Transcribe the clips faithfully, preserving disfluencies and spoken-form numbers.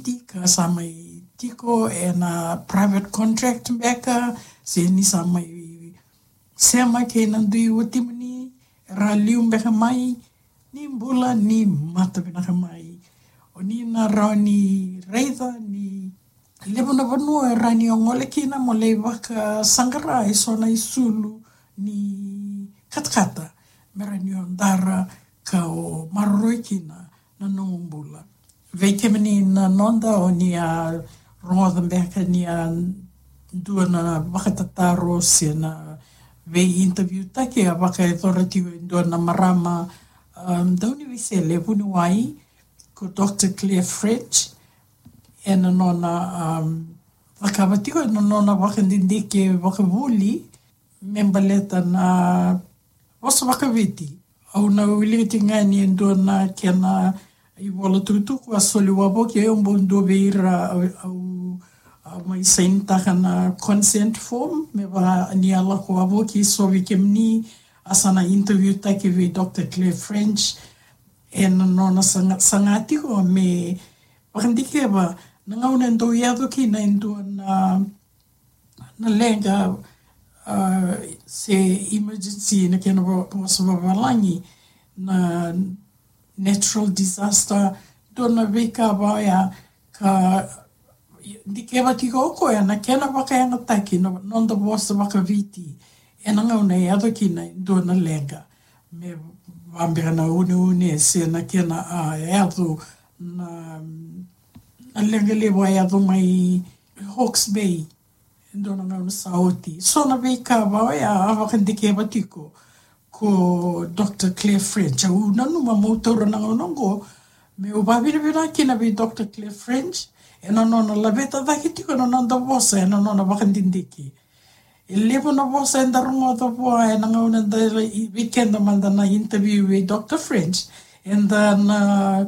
Tika sa mai tiko ena private contract beka, se ni sa mai sema kei na dui watimuni, era liu beka mai, ni bula ni mata vinaka mai. O ni na rawa ni raica ni levu na vanua era ni o gole kina mo lai vakasaqara eso na isulu ni katakata, mera ni o dara ka o maroroi kina na nomu bula. Vei kemuni na noda o ni a rogoca beka ni a dua na vakatataro se na vei interview taki a vakayacora tiko e dua na marama, um, dauniveisele vuniwai ko Dr Claire French, ena nona, um, vakavati ko ena nona vakadidike vakavuli me baleta na vosa vakaviti. Au na wilika tiko ga ni e dua na kena ivola tukutuku a soli wavoki, au bau dua vei ira au, au, au mai sainitaka na consent form me vaka ni a lako wavoki. So vei kemuni a sa na interview taki vei Dr Claire French, ena nona saga, saga tiko me vakadikeva na gauna e dau yaco kina e dua na, na leqa, uh, se emergency na kena vosa vavalagi, na natural disaster, dua na veika vaya ka dikeva tiko o koya na kena vakayagataki na noda vosa vakaviti ena gauna e yaco kina e dua na leqa, me vabeka na uneune se na kena a yaco na, na leqa levu a yaco mai Hawke's Bay e dua na gauna sa oti. So na veika vaya a vakadikeva tiko ko Dr Claire French. Au nanuma meu taura na gauna oqo meu vavinavinaka kina vei Dr Claire French ena nona laveta cake tiko na noda vosa ena nona vakadidike. E levu na vosa eda rogoca vua ena gauna da lai vei keda mada na interview vei Dr French, eda na,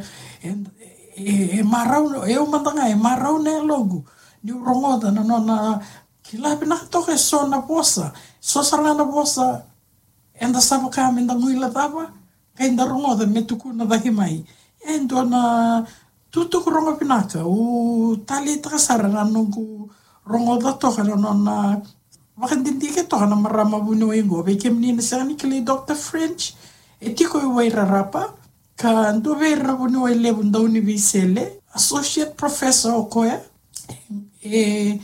e, e marau, e au mada ga e marau na yaloqu niu rogoca na nona kila vinaka toka eso na vosa, so sara ga na vosa eda sa vaka meda guilecava, qai da rogoca me tukuna cake mai. E dua na tutuku rogo vinaka, au taleitaka sara na noqu rogoca toka na nona vakadidike toka na marama vuniwai oqo. Vei kemuni na sega ni kilai Dr French, e tiko i Wairarapa, ka dua vei ira na vuniwai levu dauniveisele, associate professor o koya, e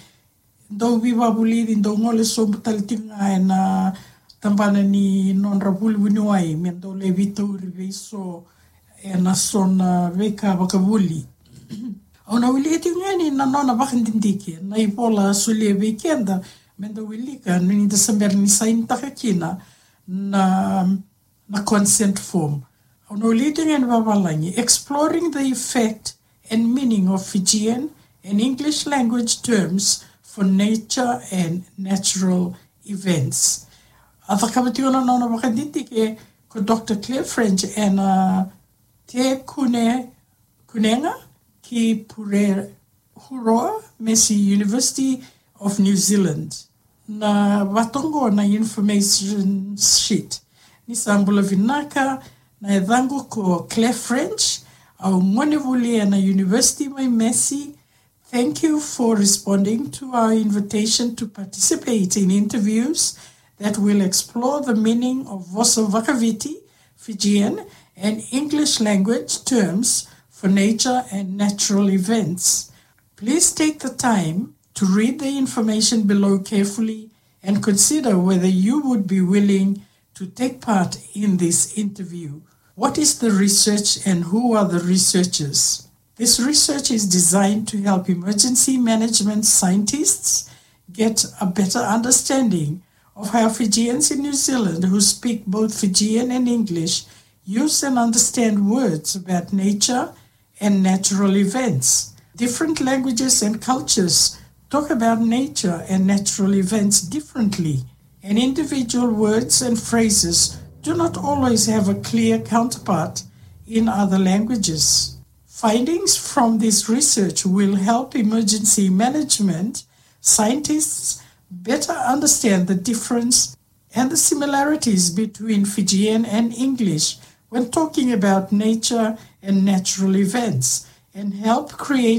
dau veivakavulici, dau gole sobu tale tiko ga ena tabana ni nodra vuli vuniwai me dau lai veitauri vei so ena so na veika vakavuli. Au na wilika tiko ga yani na nona vakadidike na ivola a solia vei keda me da wilika ni da se bera ni sainitaka kina na na consent form. Au na wilika tiko ga yani vavalagi: Exploring the effect and meaning of Fijian and English language terms for nature and natural events. A cakava tiko na nona vakadidike ko Dr Claire French ena Te Kune, Kunenga ki Pure Huroa, Massey University of New Zealand. Na vatoqo na information sheet. Ni sa bula vinaka, na yacaqu ko Claire French, au gonevuli ena University mai Massey. Thank you for responding to our invitation to participate in interviews that will explore the meaning of vosa vakaviti, Fijian, and English language terms for nature and natural events. Please take the time to read the information below carefully and consider whether you would be willing to take part in this interview. What is the research and who are the researchers? This research is designed to help emergency management scientists get a better understanding of how Fijians in New Zealand who speak both Fijian and English use and understand words about nature and natural events. Different languages and cultures talk about nature and natural events differently, and individual words and phrases do not always have a clear counterpart in other languages. Findings from this research will help emergency management scientists better understand the difference and the similarities between Fijian and English when talking about nature and natural events, and help create